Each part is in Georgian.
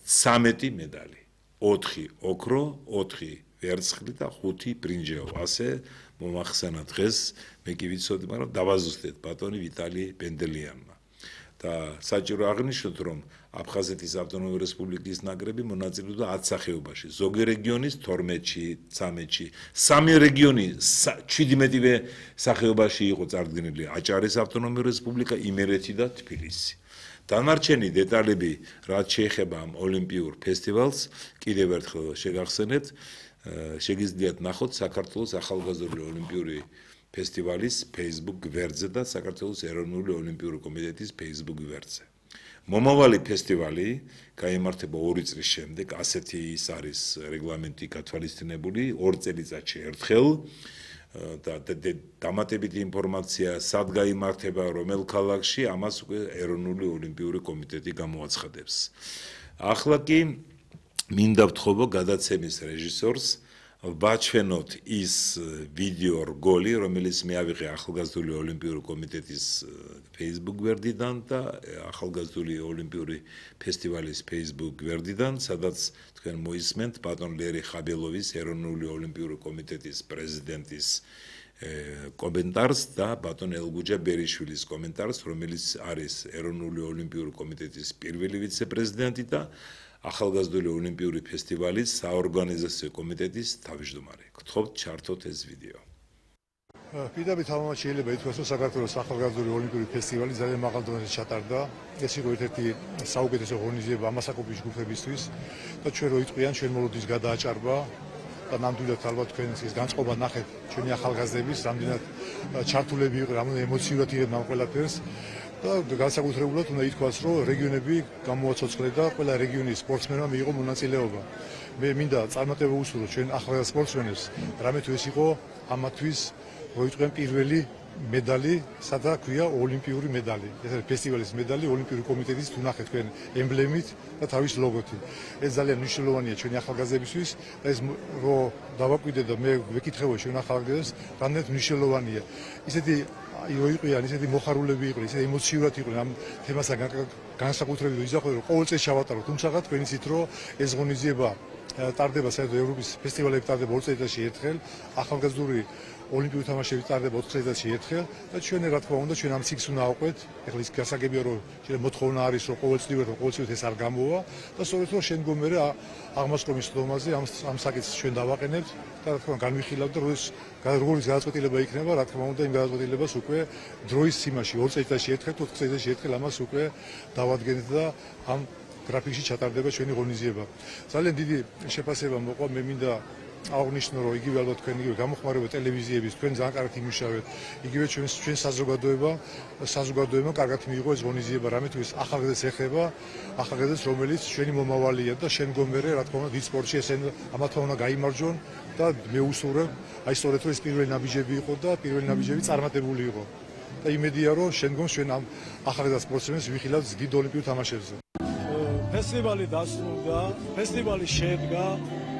13 медали. 4 ოქრო, 4 ვერცხლი და 5 ბრინჯაო. ასე მომახსენა დღეს მე კი ვიცოდი, მაგრამ დავაზუსტეთ ბატონი ვიტალი პენდელიანმა. და საჭირო აღნიშნოთ, რომ აფხაზეთის ავტონომიური რესპუბლიკის ნაკრები მონაწილეობდა 10 სახეობაში. ზოგი რეგიონის 12-ში, 13-ში, სამი რეგიონი 17-ვე სახეობაში იყო წარდგენილი. აჭარის ავტონომიური რესპუბლიკა, იმერეთი და თბილისი. დანარჩენი დეტალები, რაც შეეხება ამ ოლიმპიურ ფესტივალს, კიდევ ერთხელ შეგახსენებთ, შეგიძლიათ ნახოთ საქართველოს ახალგაზრდული ოლიმპიური ფესტივალის Facebook გვერდზე და საქართველოს ეროვნული ოლიმპიური კომიტეტის Facebook გვერდზე. მომავალი ფესტივალი გაიმართება 2 წლის შემდეგ, ასეთი ის არის რეგლამენტი გათვალისწინებული 2 წელიწადში ერთხელ და დამატებითი ინფორმაცია სად გაიმართება, რომელ ქალაქში, ამას უკვე ეროვნული ოლიმპიური კომიტეტი გამოაცხადებს. ახლა კი მინდა ვთხოვო გადაცემის რეჟისორს ვაჩვენოთ ის ვიდეო რგოლი, რომელიც მე ავიღე ახალგაზრდული ოლიმპიური კომიტეტის Facebook გვერდიდან და ახალგაზრდული ოლიმპიური ფესტივალის Facebook გვერდიდან, სადაც თქვენ მოისმენთ ბატონ ლერი ხაბელოვის ეროვნული ოლიმპიური კომიტეტის პრეზიდენტის კომენტარს და ბატონ ელგუჯა ბერიშვილის კომენტარს, რომელიც არის ეროვნული ოლიმპიური კომიტეტის პირველი ვიცე-პრეზიდენტი და ახალგაზრდული ოლიმპიური ფესტივალის საორგანიზაციო კომიტეტის თავმჯდომარე. გთხოვთ ჩართოთ ეს ვიდეო. პირდაპირ თამამად შეიძლება ითქვას, რომ საქართველოს ახალგაზრდული ოლიმპიური ფესტივალი ძალიან მაღალ დონეზე ჩატარდა. ეს იყო ერთ-ერთი საუკეთესო ღონისძიება ამასაკობის ჯგუფებისთვის და ჩვენ რო იტყვიან, ჩვენ მოლოდის გადააჭარბა და ნამდვილად ალბათ თქვენ ის განწყობა ნახეთ ჩვენი ახალგაზრდების, რამდენად ჩართულები იყო, რამდენად ემოციურად იღებდნენ ამ ყველაფერს. და განსაკუთრებულად უნდა ითქვას, რომ რეგიონები გამოაცოცხლე და ყველა რეგიონის სპორტსმენმა მიიღო მონაწილეობა. მე მინდა წარმატება უსურვო ჩვენ ახალგაზრდა სპორტსმენებს, რამე თუ ეს იყო ამათვის როიტყვენ პირველი медали, სადა ქვია ოლიმპიური медали. ეს არის ფესტივალის медали, ოლიმპიური კომიტეტის თუ ნახეთ თქვენ ემბლემით და თავის ლოგოთი. ეს ძალიან მნიშვნელოვანია ჩვენი ახალგაზრდებისთვის და ეს რო დავაკვირდე და მე ვეკითხებოდი ჩვენ ახალგაზრდებს, რამდენად მნიშვნელოვანია. ისეთი იყვნენ, ისეთი მოხარულები იყვნენ, ისეთი ემოციურად იყვნენ ამ თემასთან განსაკუთრებით იზახოთ, რომ ყოველ წელს ჩავატარო, თუმცა თქვენ იცით, რომ ეს ღონისძიება ტარდება საერთოდ ევროპის ფესტივალები ტარდება 2 წელიწადში ერთხელ, ახალგაზრდული ოლიმპიური თამაშები ტარდება 4 წელიწადში ერთხელ და ჩვენ რა თქმა უნდა ჩვენ ამ ციკლს უნდა ავყვეთ. ეხლა ის გასაგებია რომ შეიძლება მოთხოვნა არის რომ ყოველწლიურად ეს არ გამოვა და სწორედ რომ შემდგომერე აღმასკომის ხდომაზე ამ საკითხს ჩვენ დავაყენებთ და რა თქმა უნდა განვიხილავთ და როგორიც გადაწყვეტილება იქნება, რა თქმა უნდა იმ გადაწყვეტილებას უკვე დროის სիմაში 2 წელიწადში ერთხელ, 4 წელიწადში ერთხელ ამას უკვე დავადგენთ და ამ გრაფიკში ჩატარდება ჩვენი ღონისძიება. ძალიან დიდი შეფასება მოყვა, მე მინდა აღნიშნო, რომ იგივე ალბათ თქვენ იგივე გამოხმარება ტელევიზიების, თქვენ ძალიან კარგად იმუშავეთ. იგივე ჩვენ საზოგადოებამ კარგად მიიღო ეს ღონისძიება, რამე თუ ეს ახალგაზრდებს ეხება, ახალგაზრდებს, რომელიც ჩვენი მომავალია და შემდგომერე, რა თქმა უნდა, დიდ სპორტში ესენ ამათმა უნდა გაიმარჯვონ და მე უსურვებ, აი სწორედ რომ ეს პირველი ნაბიჯები იყო და პირველი ნაბიჯები წარმატებული იყო. და იმედია, რომ შემდგომ ჩვენ ამ ახალგაზრდა სპორტსმენებს ვიხილავთ დიდ ოლიმპიურ თამაშებზე. ფესტივალი დასრულდა, ფესტივალი შედგა.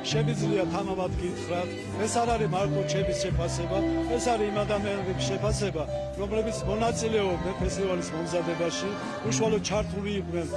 Შემიძლია თანაბად გითხრათ, ეს არ არის მარტო ჩემის შეფასება, ეს არის იმ ადამიანების შეფასება, რომლებიც მონაწილეობდნენ ფესტივალის მომზადებაში, უშუალოდ ჩართული იყვნენ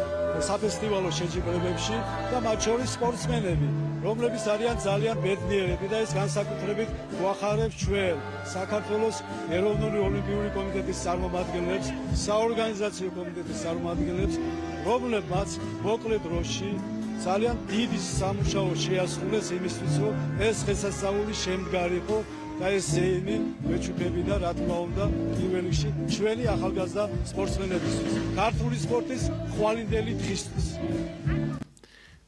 საფესტივალო შეჯიბრებებში და მათ შორის სპორტსმენები, რომლებიც არიან ძალიან ბედნიერები და ეს განსაკუთრებით გვახარებს ჩვენ საქართველოს ეროვნული ოლიმპიური კომიტეტის წარმომადგენლებს, საორგანიზაციო კომიტეტის წარმომადგენლებს, რომლებმაც მოკლე დროში ძალიან დიდი სამუშაო შეასრულეს იმისთვის, რომ ეს დღესასწაული შემდგარიყო და ეს ზეიმი მეჩუქებინა, რა თქმა უნდა, პირველ რიგში ჩვენი ახალგაზრდა სპორტსმენებისთვის, ქართული სპორტის ხვალინდელი დღისთვის.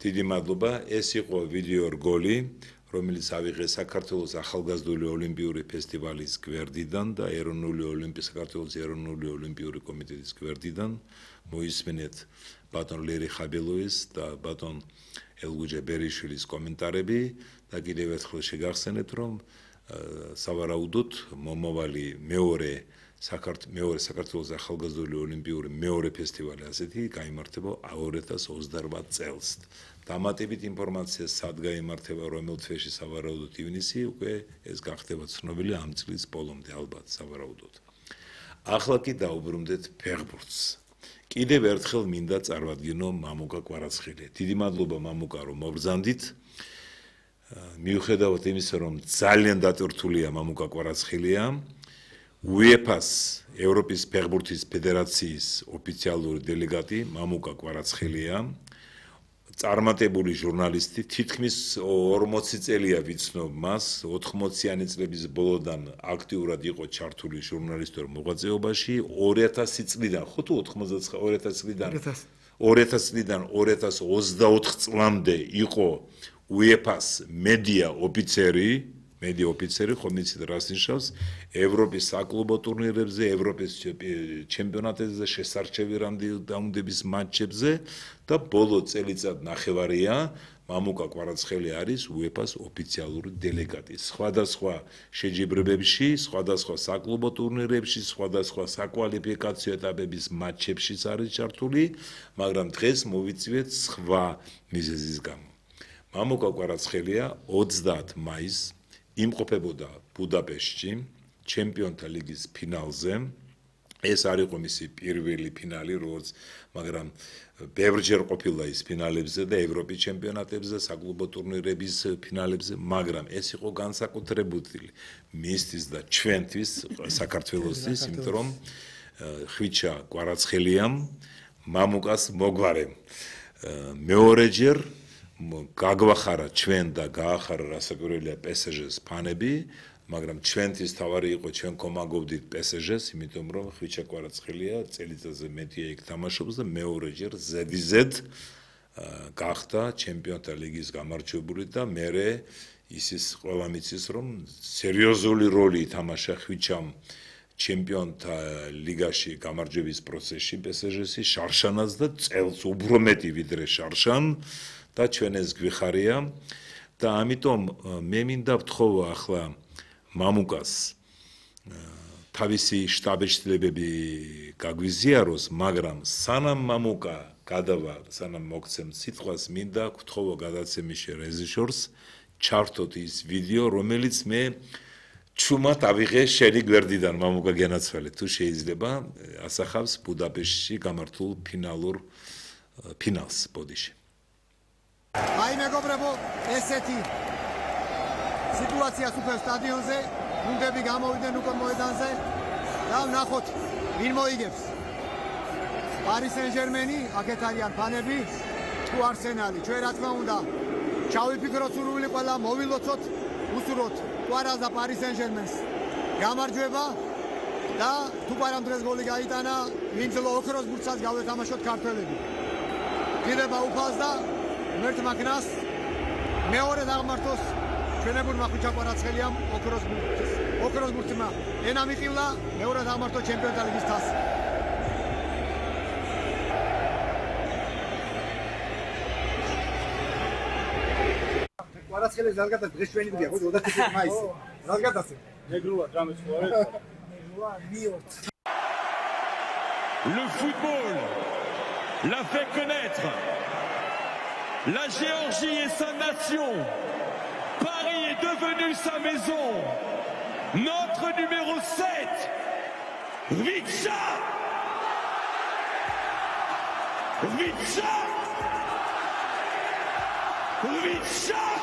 დიდი მადლობა, ეს იყო ვიდეო რგოლი, რომელიც ავიღე საქართველოს ახალგაზრდული ოლიმპიური ფესტივალის გვერდიდან და საქართველოს ეროვნული ოლიმპიური კომიტეტის გვერდიდან. მოისმენეთ ბატონ ლერი ხაბელოვის და ბატონ ელგუჯა ბერიშვილის კომენტარები და კიდევ ერთხელ შეგახსენებთ, რომ სავარაუდოდ მომავალი მეორე საქართველოს ახალგაზრდული ოლიმპიური მეორე ფესტივალი ასეთი გაიმართება 2028 წელს. დამატებით ინფორმაცია სად გაიმართება, რომელ თვეში სავარაუდოდ ივნისი, უკვე ეს გახდება ცნობილი ამ წლის ბოლომდე ალბათ სავარაუდოდ. ახლა კი დაუბრუნდეთ ფეხბურთს. კიდევ ერთხელ მინდა წარვადგინო მამუკა კვარაცხელია. დიდი მადლობა მამუკა რომ მობრძანდით. მიუხედავად იმისა რომ ძალიან დატვირთულია მამუკა კვარაცხელია, UEFA-ს ევროპის ფეხბურთის ფედერაციის ოფიციალური დელეგატი მამუკა კვარაცხელია. წარმატებული ჟურნალისტი, თითქმის 40 წელია ვიცნობ მას, 80-იანი წლების ბოლოდან აქტიურად იყო ჩართული ჟურნალისტურ მოღვაწეობაში, 2000 წლიდან, ხო თუ 2000 წლიდან 2024 წლამდე იყო UEFA-ს მედია ოფიცერი, ხომ იცით რას ნიშნავს, ევროპის საკლუბო ტურნირებზე, ევროპის ჩემპიონატებზე, შესარჩევი რაუნდების მატჩებზე და ბოლო წელიწად ნახევარია მამუკა კვარაცხელია არის UEFA-ს ოფიციალური დელეგატი. სხვადასხვა შეჯიბრებებში, სხვადასხვა საკლუბო ტურნირებში, სხვადასხვა საკვალიფიკაციო ეტაპების მატჩებშიც არის ჩართული, მაგრამ დღეს მოვიწვიეთ სხვა მიზეზის გამო. მამუკა კვარაცხელია 30 მაისს იმყოფებოდა ბუდაპეშტში ჩემპიონთა ლიგის ფინალზე. ეს არ იყო მისი პირველი ფინალი, მაგრამ ბევრჯერ ყოფილა ის ფინალებზე და ევროპის ჩემპიონატებზე, საკლუბო ტურნირების ფინალებზე, მაგრამ ეს იყო განსაკუთრებული მისთვის და ჩვენთვის, საქართველოსთვის, იმიტომ რომ ხვიჩა კვარაცხელიამ მამუკას მოგვარემ მეორეჯერ გაგვახარა ჩვენ და გაახარა რასაკვირველია PSG-ს ფანები, მაგრამ ჩვენთვის თავარი იყო ჩვენ კომაგოვდით PSG-ს, იმიტომ რომ ხვიჩა კვარაცხელია წელიწადზე მეტია იქ თამაშობს და მეორეჯერ ზედიზედ გახდა ჩემპიონთა ლიგის გამარჯვებული და მერე ისის ყველა მიცის რომ სერიოზული როლი ითამაშა ხვიჩამ ჩემპიონთა ლიგაში გამარჯვების პროცესში PSG-ში, შარშანას და წელს უფრო მეტი ვიდრე შარშან და ჩვენ ეს გვიხარია და ამიტომ მე მინდა ვთხოვო ახლა მამუკას თავისი შტაბ-შტილებები გაგვიზიაროს, მაგრამ სანამ მამუკა გადავა, სანამ მოგცემ სიტყვას, მინდა ვთხოვო გადაცემის რეჟისორს ჩართოთ ის ვიდეო, რომელიც მე ჩუმად ავიღე შენი გვერდიდან მამუკა გენაცვალე, თუ შეიძლება ასახავს ბუდაპეშტში გამართულ ფინალს ბოდიში. Ai მეგობრებო, ესეთი სიტუაცია სუპერ სტადიონზე, გუნდები გამოვიდნენ უკვე მოედანზე და ვნახოთ ვინ მოიგებს. Paris Saint-Germain-ი, აქეთ არიან ფანები, თუ Arsenal-ი. ჩვენ რა თქმა უნდა, ჩავიფიქროთ სურვილი ყველა, მოვილოცოთ, უსურვოთ Suarez და Paris Saint-Germain-ს. გამარჯვება და თუ პარამ დღეს გოლი გაიტანა, ვინც ოქროს ბურთსაც გავეთამაშოთ ქართველები. გირება უფალს და მერტმა კნას მეორე დაღმართოს ჩვენებურმა ხვიჩა კვარაცხელიამ ოქროს ბურთმა ენა მიყივლა მეორე დაღმართო ჩემპიონთა ლიგის თასი. კვარაცხელის ზალგათა დღეს ჩვენი დღეა, ხო 25 მაისი. ზალგათასე. ნეგრუა დამეწყო. ნეგრუა მიორთ. Le football l'a fait connaître. La Géorgie est sa nation. Paris est devenu sa maison. Notre numéro 7, Hrvića. Hrvića. Hrvića.